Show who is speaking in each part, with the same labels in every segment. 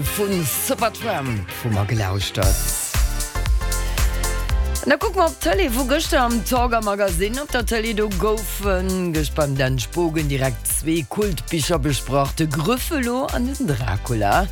Speaker 1: Vu Supertramp hu mer gelauschtert. An da kucke mer op d'Tëlee vu gëschter am Talk a Magazine. Op der Tëlee, do goufe gëscht beim Dan Spogen direkt zwee Kultbicher besprach, de Grüffelo an den Dracula.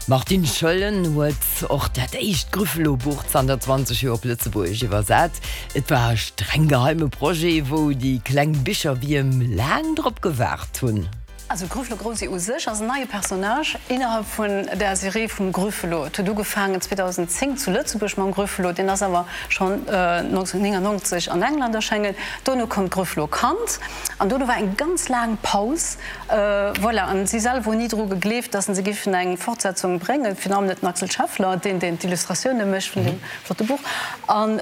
Speaker 1: D'Martine Schoellen huet och dat éischt Grüffelo-Buch zanter 20 Joer op Lëtzebuergesch iwwersat. Et war e streng geheime Projet, wou déi kleng Bicherwierm laang drop gewaart hunn.
Speaker 2: Also Grüffelo Grosi u sech ass en neie Personnage innerhalb vun der Serie vum Grüffelo. Et huet ugefaangen 2010 zu Lëtzebuerg mam Grüffelo, deen ass awer schonn 1999 an England erschéngen. Dono koum d'Grüffelo Kand an dono war eng ganz laang Paus. Voilà, an si selwer hunn ni dru gegleeft, datt se giffen eng Fortsetzung bréngen, virun allem net den Axel Scheffler, deen deen d'Illustratioune mécht vun deem flotte Buch. An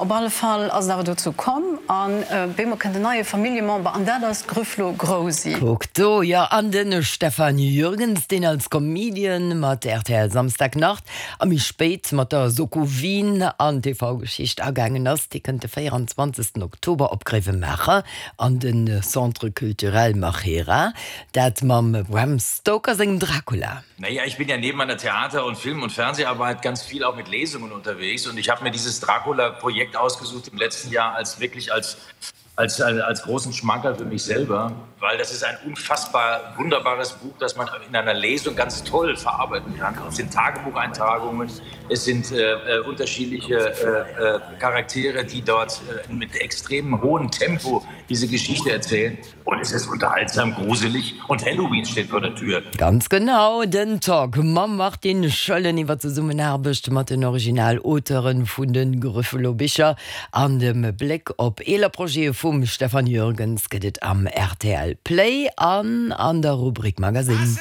Speaker 2: op alle Fall ass et awer dozou komm an bemol kënnt en neie Familljemember an dat ass d'Grüfflo Grousi.
Speaker 1: Kuck do, jo, an de Stefan Jürgens, deen als Comedian mat rtl Samstagnacht a méi spéit mat der Soko Wien an d'TV-Geschicht agaangen ass, dee kënnt de 24 Oktober op Gréiwemaacher an de Centre Culturel Machera, dat mam Bram Stoker sengem Dracula.
Speaker 3: Naja, ich bin ja neben meiner Theater- und Film- und Fernseharbeit ganz viel auch mit Lesungen unterwegs und ich habe mir dieses Dracula-Projekt ausgesucht im letzten Jahr als wirklich als, als, als, als großen Schmankerl für mich selber, weil das ist ein unfassbar wunderbares Buch, das man in einer Lesung ganz toll verarbeiten kann. Es sind Tagebucheintragungen, es sind äh, äh unterschiedliche äh, äh, Charaktere, die dort äh, mit extrem hohem Tempo diese Geschichte erzählen. Und es ist unterhaltsam, gruselig und Halloween steht vor der Tür.
Speaker 1: Ganz genau, den Talk mam Martine Schoellen iwwer d'Zesummenaarbecht mat den Original-Auteuren vun de Grüffelo-Bicher an dem Bléck op eeler Projete vum Stefan Jürgens gëtt et am rtl Play an an der Rubrik Magazine.